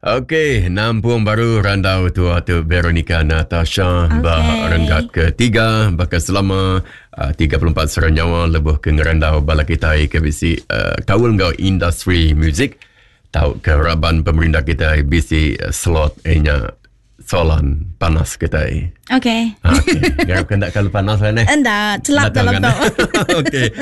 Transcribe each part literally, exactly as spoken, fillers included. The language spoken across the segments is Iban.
Okey, nampung baru randau tua tu Veronica Natasha okay. Ba renggat ketiga baka selama uh, tiga puluh empat sera nyawa lebuh ke ngerandau bala kita ke bisi uh, kaul enggau industri muzik tau ke raban pemerintah kita bisi slot nya soalan panas kita. Okey. Okey. Garap kena kalau panas lah ni. Enda, celap dalam tu. Okey.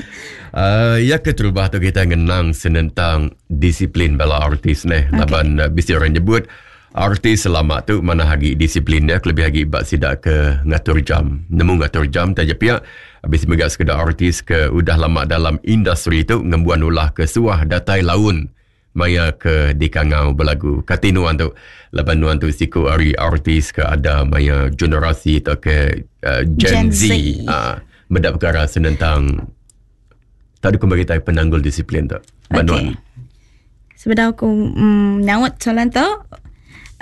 Uh, ya keterubah tu kita ngenang senentang disiplin bala artis ni. Okay. Laban uh, bisi orang nyebut artis selama tu mana hagi disiplinnya lebih hagi bak sidak ke ngatur jam. Nemu ngatur jam taja pihak habis mega sekedar artis ke udah lama dalam industri tu ngembuan ulah ke suah datai laun maya ke dikangau berlagu. Kati nuan tu laban nuan tu siku ari artis ke ada maya generasi atau ke uh, Gen, Gen Z. Ah, uh, mendak perkara senentang tak ada kembali kita penanggul disiplin tu. Okey. Sebenarnya aku mm, nyaut soalan tu.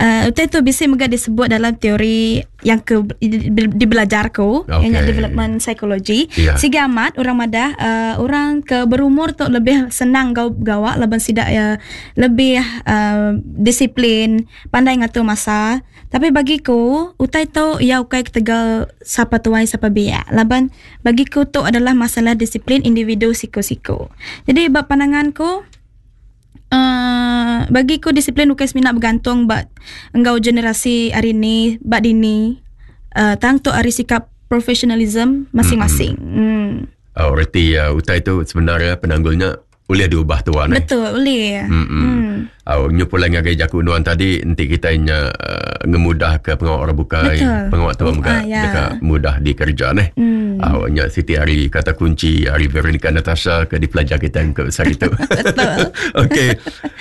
Uh, utai tu bisa mega disebut dalam teori yang ke di, di belajarku, okay. Yang development psychology. Yeah. Siga amat orang madah uh, orang ke berumur tu lebih senang gau gawak laban sidak ya lebih uh, disiplin, pandai ngatur masa. Tapi bagiku utai tu ya ukai ketegal sapa tuai sapa biak. Laban bagiku tu adalah masalah disiplin individu siko-siko. Jadi bab pandanganku Uh, bagiku disiplin bukan semina bergantung bak engkau generasi hari ni bak dini uh, tang tu hari sikap profesionalism masing-masing. Mm-hmm. Hmm. Oh, reti uh, utai tu sebenarnya penanggulnya boleh diubah tuan. Betul, boleh. Hmm. Mm. Oh, nyupulan ngagai jaku nuan tadi nanti kita nya uh, ngemudah ke pengawak orang bukai, pengawak tua muka ah, ya. Dekat mudah dikerja neh. Mm. Oh, nya Siti hari kata kunci hari Veronica Natasha ke dipelajar kita ke besar itu. Betul. Okey.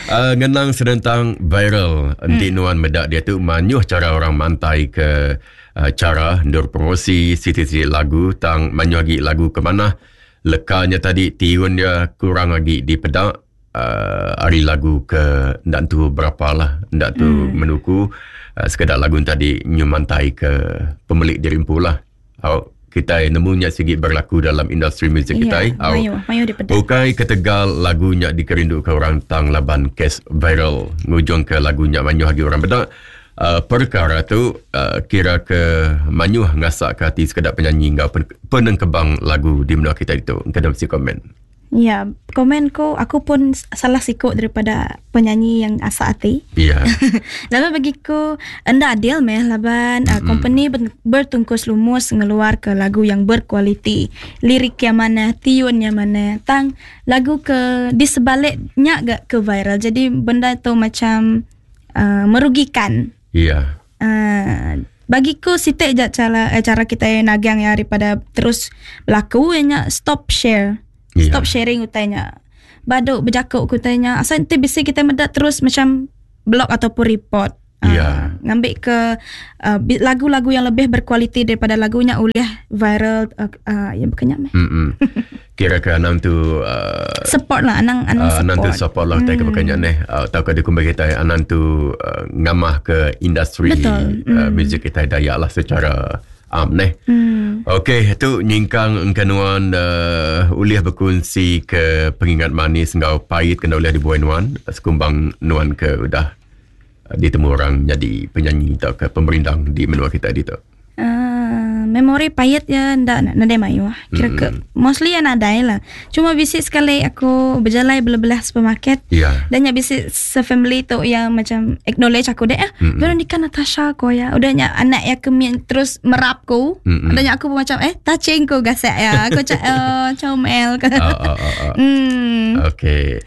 Uh, ngenang senentang viral enti mm. nuan medak dia tu manyuh cara orang mantai ke uh, cara ndur promosi siti-siti lagu tang manyuh agi lagu ke mana lekanya tadi tiun dia kurang lagi di pedak uh, hari lagu ke ndak tu berapa lah ndak tu mm. menuku uh, sekedar lagu tadi nyumantai ke pemilik diri empu lah. Oh, kita nemunya sigi berlaku dalam industri muzik yeah, kita. Mayu, mayu di pedak. Bukai ketegal lagunya dikerindu ke orang tang laban kes viral ngujung ke lagunya manyuh lagi orang pedak. Uh, perkara tu uh, kira ke manyuh ngasak ke hati sekedar penyanyi ngau pen, penengkebang lagu di menua kita itu. Engkau dah mesti komen. Ya, komen ko aku pun salah sikut daripada penyanyi yang asak hati. Ya. Laban bagiku enda adil meh laban mm-hmm. uh, company bertungkus lumus ngeluar ke lagu yang berkualiti, lirik yang mana, tiun yang mana, tang lagu ke di sebaliknya gak ke viral. Jadi benda tu macam uh, merugikan. Ya. Uh, bagiku sitek je cara eh, cara kita nagang ya daripada terus berlaku nya stop share. Yeah. Stop sharing utainya. Baduk berjakuk kutainya. Asal nanti bisa kita medak terus macam blog ataupun report. Ya. Yeah. Uh, ngambil ke uh, lagu-lagu yang lebih berkualiti daripada lagunya oleh viral uh, uh, yang berkenyak meh. Mm-mm. Kira ke anang tu uh, support lah anang anang uh, support. Anang tu support lah mm. ke berkenyak neh. Uh, tahu ke dukung bagi kita anang tu uh, ngamah ke industri Betul. Uh, mm. muzik kita Dayak lah secara am neh. Mm. Okey, tu nyingkang engkanuan uh, uliah berkongsi ke pengingat manis ngau pahit kena uliah dibuai nuan sekumbang nuan ke udah ditemu orang jadi penyanyi atau ke pemerindang di menua kita di tu. Uh, memori pahit ya ndak ndak mayu ah. Kira ke Mm. mostly ya nadai lah. Cuma bisik sekali aku berjalan belah-belah supermarket. Ya. Dan ya bisik se-family tu yang macam acknowledge aku deh ah. Mm-mm. Veronica Natasha ko ya. Udah nya anak ya kemi terus merap ku. Mm-mm. Udah nya aku pun macam eh touching ku gasek ya. Aku cak oh, comel ke. Ah, ah, ah, ah. Hmm. Okey.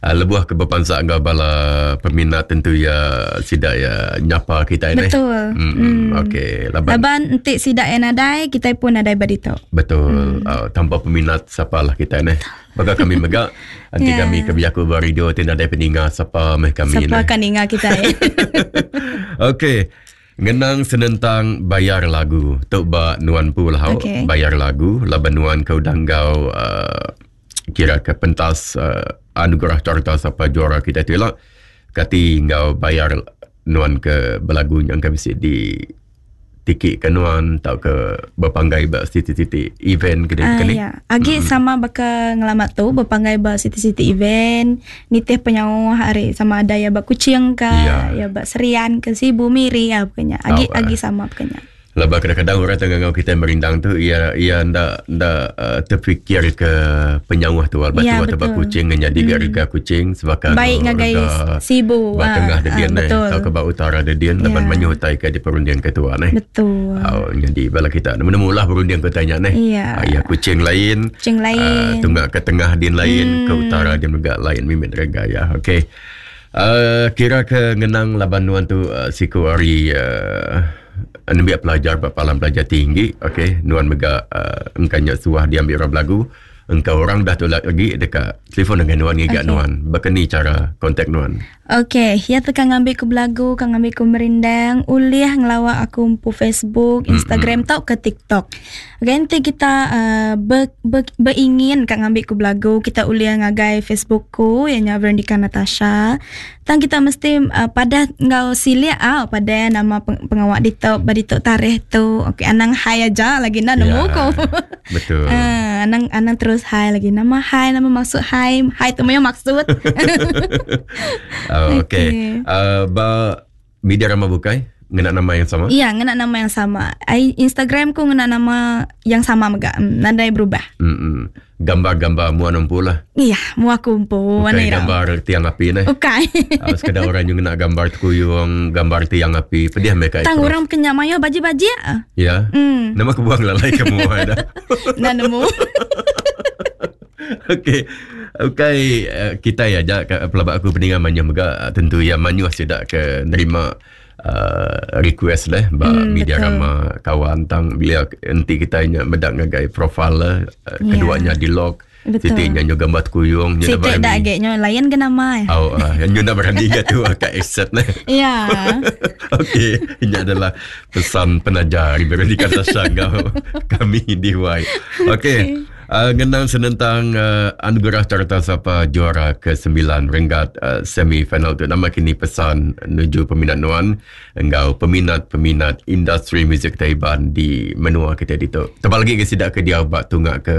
Uh, lebuh ke berpansak enggau bala peminat tentu ya sidak ya nyapa kita ini. Betul. Hmm. Mm. Okey, laban Laban entik sidak yang nadai, kita pun nadai badito. Betul. Mm. Uh, tanpa peminat siapalah kita ni. Maka kami megak nanti Yeah. kami kami aku beradio ti nadai peninga siapa meh kami Siapa ni. akan ingat kita ya. Okey. Ngenang senentang bayar lagu. Tok ba nuan pu lah Okey. bayar lagu laban nuan kau danggau uh, kira ke pentas uh, anugerah carta siapa juara kita tu lah. Kati ngau bayar nuan ke belagu yang kami di tiki ke nuan tau ke berpanggai ba siti-siti event ke uh, ni? Ya. Agi mm-hmm. sama baka ngelamat tu berpanggai ba siti-siti event nitih penyauh hari sama ada ya ba Kuching ke ya, ya ba Serian ke Sibu Miri ya pokoknya. Agi oh, agi sama pokoknya. Lepas kadang-kadang orang tengah ngau kita merindang tu ia ia ndak ndak uh, terfikir ke penyauh tu batu ya, atau bak Kuching jadi hmm. harga Kuching sebab baik ngagai Sibu ba tengah de dian eh atau ke ba utara de dian laban ya. Manyuh utai ke di perundian ketua neh. Betul. Oh, jadi bala kita nemu-nemulah perundian ke tanya neh. Ya. Uh, ya Kuching lain, Kuching lain, uh, tunggak ke tengah dian lain, hmm. ke utara dian juga lain mimit harga ya. Okey. Uh, kira ke ngenang laban nuan tu uh, siku hari uh, nembiak pelajar ba palam pelajar tinggi, okey, nuan mega uh, engkanya suah diambil orang belagu, engkau orang dah tolak lagi dekat telefon dengan nuan ngigak okay. Nuan. Bakani cara kontak nuan? Okey, ya tekan ngambil ku belagu, kang ngambil ku merindang, ulih ngelawak aku empu Facebook, Instagram mm-hmm. tau ke TikTok. Okey, nanti kita uh, ber, ber, beringin kang ngambil ku belagu, kita ulih ngagai Facebook ku yang Veronica Natasha. Tang kita mesti uh, pada ngau silia ah pada nama peng, pengawak ditok badi tok tarikh tu. Okey, anang hai aja lagi nak nemu ya, ku. Betul. Uh, anang anang terus hai lagi nama hai nama maksud hai hai tu maksud maksud. Uh, Okey. Okay. Uh, ba media ramah bukai ngena nama yang sama? Iya, ngena nama yang sama. I, Instagram ku ngena nama yang sama mega. Nadai berubah. Mm-mm. Gambar-gambar mua nempu lah. Iya, mua kumpu. Bukan gambar tiang api ni. Bukan. Uh, sekadar orang yang ngena gambar tekuyung, gambar tiang api, pedih mereka. Tang orang kenyak mayo baji-baji. Ya. Mm. Nama aku buang lalai ke mua dah. Nah nemu. Okey. Okey, kita ya jak pelabak aku peningan manyuh mega tentu ya manyuh sudah ke nerima uh, request lah ba hmm, media betul. Rama kawan tang bila nanti kita nya medak ngagai profil lah keduanya yeah. di lock. Siti nya nyo gambar kuyung nya berani. Siti dak nyo lain ke nama. Oh, uh, nyo nak berani ke tu kat accept lah. Ya. Okey, ini adalah pesan penajar Veronica Natasha kami di Y. Okey. Okay. Uh, ngenang senentang uh, anugerah carta sapa juara kesembilan renggat uh, semi final tu nama kini pesan menuju peminat nuan engkau peminat-peminat industri muzik Taiban di menua kita ditu. Tebal lagi ke sidak ke dia buat tunggak ke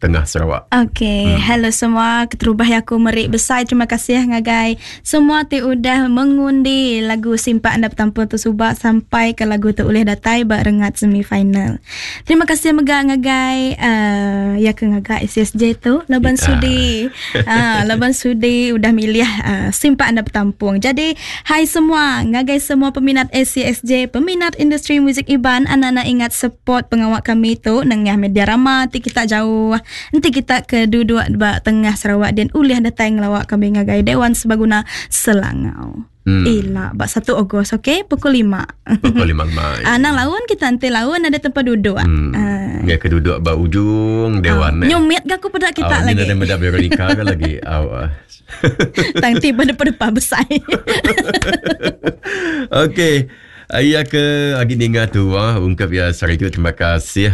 tengah Sarawak. Okey, hmm. Hello semua, keterubah aku merik besar. Terima kasih ngagai semua ti udah mengundi lagu Simpak Anda Bertampung tu subak sampai ke lagu tu ulih datai ba rengat semi final. Terima kasih mega ngagai uh, ya ke ngagai S S J tu laban yeah. sudi. Ah, uh, laban sudi udah milih uh, Simpak Anda Bertampung. Jadi, hai semua, ngagai semua peminat S C S J, peminat industri muzik Iban, anak-anak ingat support pengawak kami tu nengah media rama ti kita jauh. Nanti kita ke duduk ba tengah Sarawak dan ulih datang ngelawak kami ngagai Dewan Sebaguna Selangau. Hmm. Ila bak satu Ogos okey pukul lima. Pukul lima mai. Ah nang lawan kita nanti lawan ada tempat duduk. Hmm. Ah. Ya ke duduk ba ujung dewan ah. eh. Nyumit ke aku pada kita oh, lagi. Ni ada meda Veronica ke lagi. Aw. Tang tiba depan-depan besar. Okey. Ayah ke agi ninga tu ah ungkap ya sari tu terima kasih.